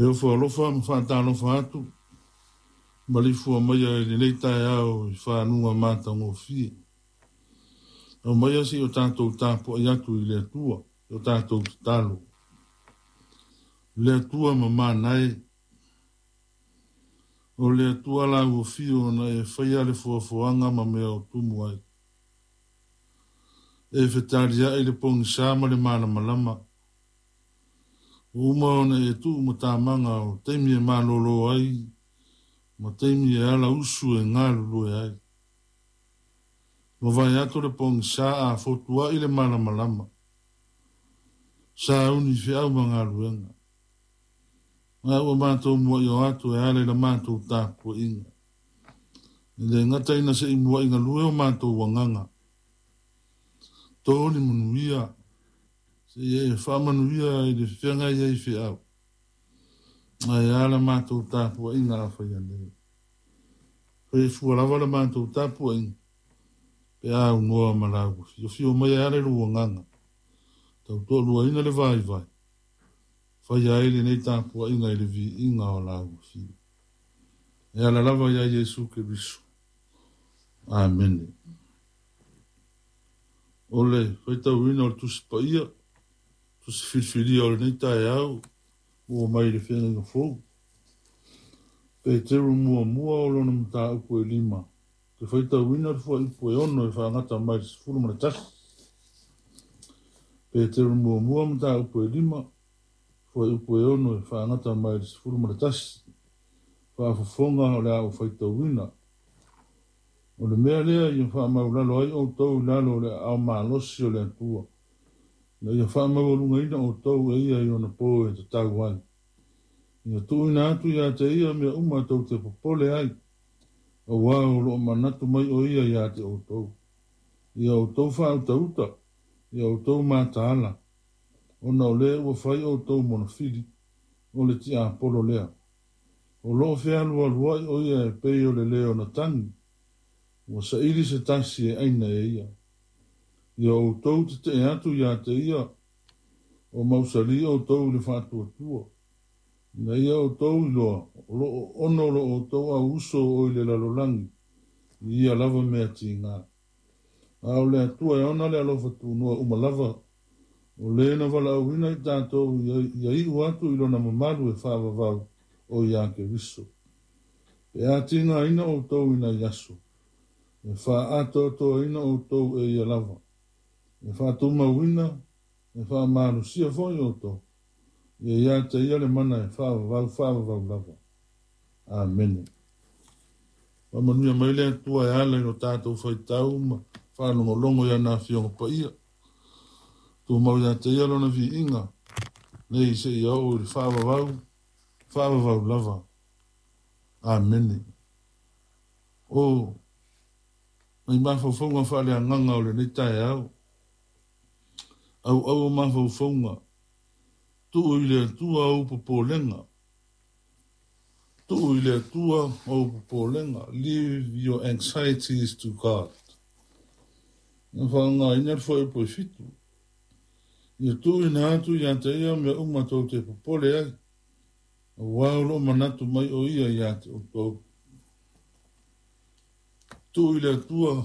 E ofo alofa ma faatalofa atu, maleifua maia i lenei taeao i faguga matagofie. Aumaia se i o tatou tapuai atu i le Atua i o tatou tatalo. Le Atua mamana e, o le Atua la ua fio ona e faia le foafoaga ma mea o tumu ai. E fetaliai le pogisa ma le malamalama. Ua uma ona e tuu matamaga o taimi e malolo ai ma taimi e ala usu e galulue ai. Mavae atu le pogisa a fotuai le malamalama. Sauni feau ma galuega. A ua matou muai o atu e ala i la matou tapuaiga. E le gata ina se i muai galue o matou agaga. To ni manuia se i e faamanuia i le feagai ai feau. Ae a la matou tapuaiga a faia nei. Faifua lava la matou tapuaiga pe aunoa ma lau fiofio mai e ala i lou agaga. Tautoaluaina le vaivai. Faia ai lenei tapuaiga i le viiga o lau afio. E ala lava ia Iesu Keriso. Amene. O le faitauina o le Tusi Paia, Tusi Filifilia o lenei taeao, ua mai i le Feagaiga Fou. Peteru muamua o lona mataupu e 5, te faitauina le fuaiupu e 6 e faagata mai le 11. Peteru muamua mataupu e 5, fuaiupu e 6 e faagata mai le 11. Faafofoga o le a ou faitauina. O le mea lea ia faamaulalo ai outou i lalo o le aao malosi o le Atua, ina ia faamaualugaina outou e ia i ona po e tatau ai. Ia tuuina atu ia te ia mea uma tou te popole ai, auā o lo o manatu mai o ia ia te outou. Ia outou faautauta, ia outou mataala, ona o lea ua fai outou monofili, o le tiapolo lea. O lo o fealualuai o ia e pei o le lē ona tagi, ua saili se tasi e aina e ia. Ia outou tetee atu ia te ia, o mausali outou i le faatuatua, ina ia outou iloa, o lo o ono lo outou auuso o i le lalolagi, i ia lava mea tiga. A o le Atua e ona le alofa tunoa uma lava, o lē na valaauina i tatou ia iu atu i lona mamalu e faavavau o ia Keriso. Pe a tigaina outou i nai aso, e faaatoatoaina outou e ia lava, e faatumauina, e faamalosia foi outou, ia ia te ia le mana e faavavau faavavau lava. Amene. Faamanuia mai le Atua e ala i lo tatou faitau ma faalogologo i ana afioga paia. Tumau ia te ia lona viiga, nei seia oo i le faavavau, faavavau lava. Amene. O nai mafaufauga faaleagaga o lenei taeao, auau o mafaufauga, tuu i le Atua ou popolega. Tuu i le Atua ou popolega. Leave your anxieties to God. Na faaaogaina le fuaiupu e 7. Ia tuuina atu ia te ia mea uma tou te popole ai, auā o lo o manatu mai o ia ia te outou. Tuu i le Atua